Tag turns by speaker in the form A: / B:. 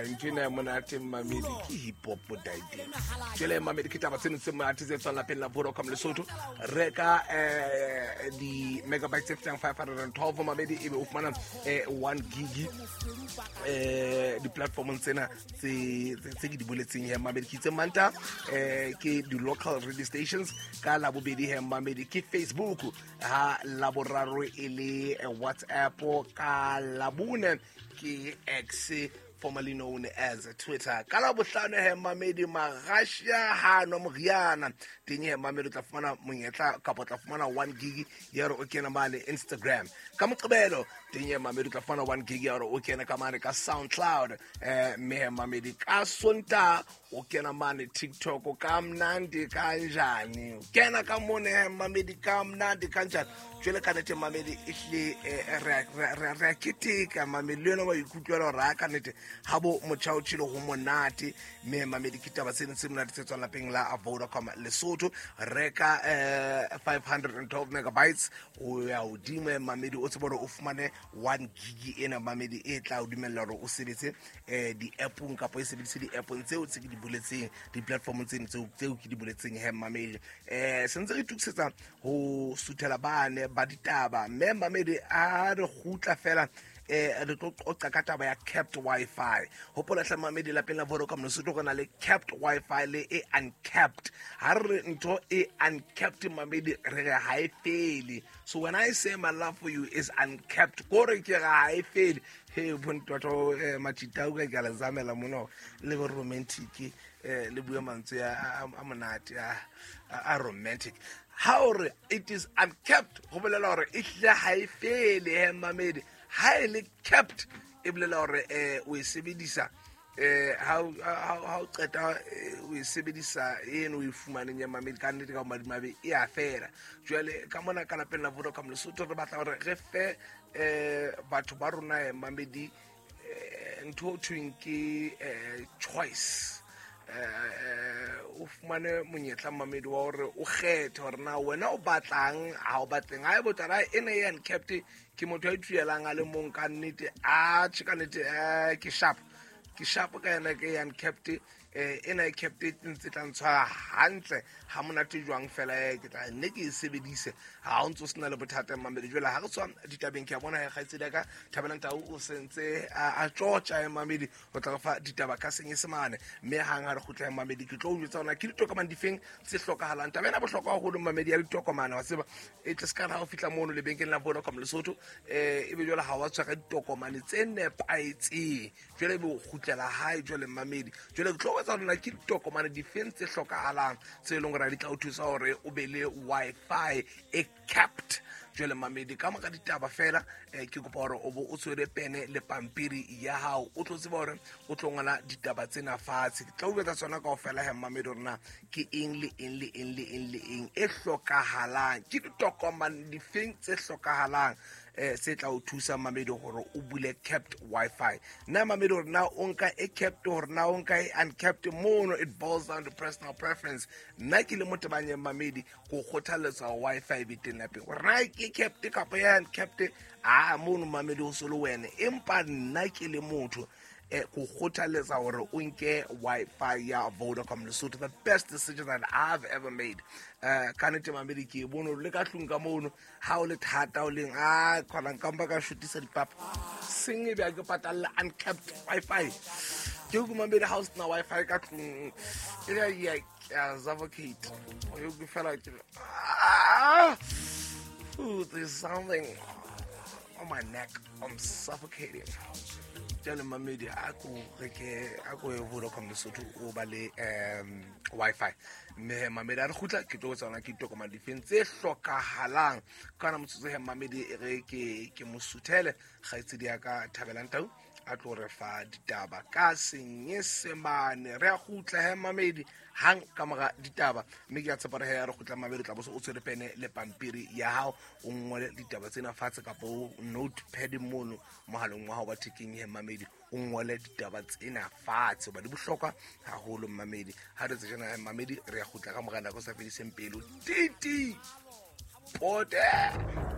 A: Ntho ena ya monate mmamedi ke hip hop daite. Jwale mmamedi, ke taba tseno tse monate tse tswang lapeng la Vodacom Lesotho. Reka di-megabytes tse fetang 512, mamedi, ebe o fumana 1 gig di-platformong tsena tse ke di boletseng he, mamedi. Ke itse Manta ke di-local radio stations, ka Labobedi he, mamedi, ke Facebook, ha Laboraro e le WhatsApp, ka Labone ke X, formerly known as Twitter, ka Labohlano he, mamedi, Magašia ha nwa moriana teng he, mamedi, o tla fumana monyetla kapa o tla fumana 1 gig ya gore o kene mane Instagram. Ka Moqebelo teng he, mamedi, o tla fumana 1 gig ya gore o kene ka mane ka SoundCloud. Mme he, mamedi, ka Sonta o kena mane TikTok ka mnandi kanjani, o kena ka mone he, mamedi, ka mnandi kanjani. Jwale ka nnete, mamedi, ehlile re a keteka, mamedi, le yona wa ikutlwela gore a ka nnete ga bo motšha o tšhile go monate. Mme mamedi, ke taba tseno tse monate tse tswang lapeng la Vodacom Lesotho. Reka 512 megabytes o ya hodimo, mamedi, o tsebe gore o fumane 1 gig ena, mamedi, e tla o dumella gore o sebetse di-appong kapa e sebedise di-appong tseo tse ke di boletseng, di-platformong tseno tseo ke di boletseng he, mamedi. Sentse re itukisetsa ho suthela bane ba ditaba, mme mamedi, a re kgutla fela re tlo qoqa ka taba ya capped Wi-Fi. Hopola hle, mamedi, lapeng la Vodacom Lesotho go na le capped Wi-Fi le e uncapped. Ha re re ntho e uncapped, mamedi, re re ha e fele. So when I say my love for you is uncapped, kore ke re ha e fele. He bontwatho matšitau ka ke a le zamela mona le bo romantic, le bue mantswe a monate a romantic. Ha o re it is uncapped, go bolela gore e hlile ha e fele he, mamedi. Ha e le capped, e bolela gore o e sebedisa ha o qeta o e sebedisa eno o e fumaneng ya, mamedi, ka nnete ka madimabe e a fela. Jwale ka mona ka lapeng la Vodacom Lesotho re batla gore re fe batho ba rona, mamedi, ntho o thweng ke choice. O fumane monyetla, mamedi, wa hore o kgethe hore na wena o batlang, ha o batleng. Ha e botala ena e uncapped, ke motho a ituelang a le mong ka nnete, a tjhe, ka nnete ke sharp, ke sharp ka yena, ke uncapped. Ena e capped ntse tla ntshwara hantle ha monate jwang fela, ke tla nne ke e sebedise ha o ntse o sena le bothata, mamedi. Jwale ha re tswa ditabeng, ke a bona he kgaitsedi ya ka Thabelang Tau o sentse a tjotja, mamedi, ho tla re fa ditaba ka Senyesemane. Mme hang ha re kgutla, mamedi, ke tlo o jwetsa hore ke ditokomane difeng tse hlokahalang. Taba ena bohlokwa haholo, mamedi, ya ditokomane, wa tseba, e tle se ka ha o fihla mono lebenkeleng la Vodacom Lesotho, ebe jwale ha wa tshwara ditokomane tse nepahetseng, jwale ebe o kgutlela hae. Jwale mamedi, jwale ke tlo etsa hore na ke ditokomane difeng tse hlokahalang tse e leng gore di tla o thusa hore o be le Wi-Fi e capped. Jwale mamedi, ka moka ditaba fela, ke kopa hore o bo o tshwere pene le pampiri ya hao, o tlo tseba hore o tlo ngola ditaba tsena fatshe. Ke tla o etsa tsona kaofela he, mamedi, hore na ke eng le eng le eng le eng le eng e hlokahalang, ke ditokomane difeng tse hlokahalang se tla o thusa, mamedi, hore o bule capped Wi-Fi. Nna, mamedi, hore na o nka e capped, hore na o nka e uncapped, mono it boils down to personal preference. Nna ke le motebanyeng, mamedi, ko kgothaletsa Wi-Fi be teng lapeng, hore na ke capped kapa ya uncapped, a mono, mamedi, o se le wena. Empa nna ke le motho ko kgothaletsa hore o nke Wi-Fi ya Vodacom Lesotho, the best decision that I've ever made. Ka nnete, mamedi, ke e bone le ka tlung ka mono ha o le thata o leng a kgona nkampa ka shotisa dipapa seng e be a ke patalla uncapped Wi-Fi. Ke ko, mamedi, ha o sena Wi-Fi ka tlung e ya ke a suffocate o ke fela ke ah. Ooh, there's something on my neck, I'm suffocating. Jale mamedi, a ko reke, a ko ye Vodacom Lesotho, o ba le Wi-Fi. Mme mamedi, a re kgutla, ke tlo tsona ke ditokomane difeng tse hlokahalang. Ka ona motsotso he, mamedi, e re ke mo suthele kgaitsedi ya ka Thabelang Tau a tlo re fa ditaba ka Senyesemane. Re a kgutla he, mamedi, hang ka mora ditaba. Mme ke a tshepa re he re kgutla, mamedi, tla bo o tshwere pene le pampiri ya hao, o ngole ditaba tsena fatshe, kapa o notepad mono mohaleng wa hao wa thekeng he, mamedi, o ngole ditaba tsena fatshe hoba di bohlokwa haholo, mamedi. Ha re tsejana, mamedi, re ya kgutla ka mora nako sa fediseng pelo. Titi pote.